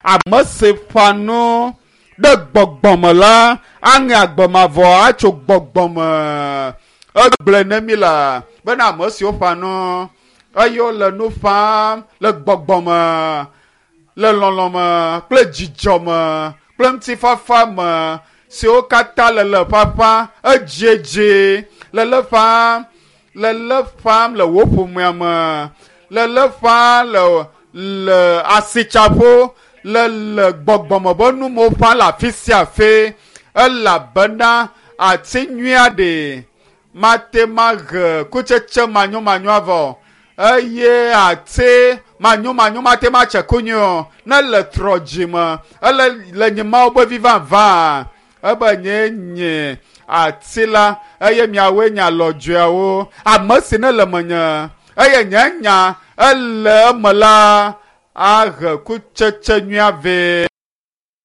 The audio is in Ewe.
Ame si ƒã nu ɖe gbɔgbɔme la aŋe agbe mavɔ atso gbɔgbɔme. Egblɔe ne mi la bena ame siwo ƒã nu eye wole nu ƒãm le gbɔgbɔme, le lɔlɔ̃ me kple dzidzɔ me kple ŋutifafa me siwo katã le le ƒaƒã edziedzi le le ƒãm le le ƒãm le wò ƒomea me le le ƒãm le le asitsaƒo le le gbɔgbɔme be numewo ƒãm le afi sia afi elabena ati nyui aɖe mate mahe kutsetse manyomanyo avɔ eye ati manyomanyo mate matse ku nyui o ne le trɔ dzime ele le nye Mawu be vi vavã ebe nye nye ati la eye miawoe nye alɔdzoeawo ame si ne le menye eye nye nya ele eme la ahe kutsetse nyui avɛ.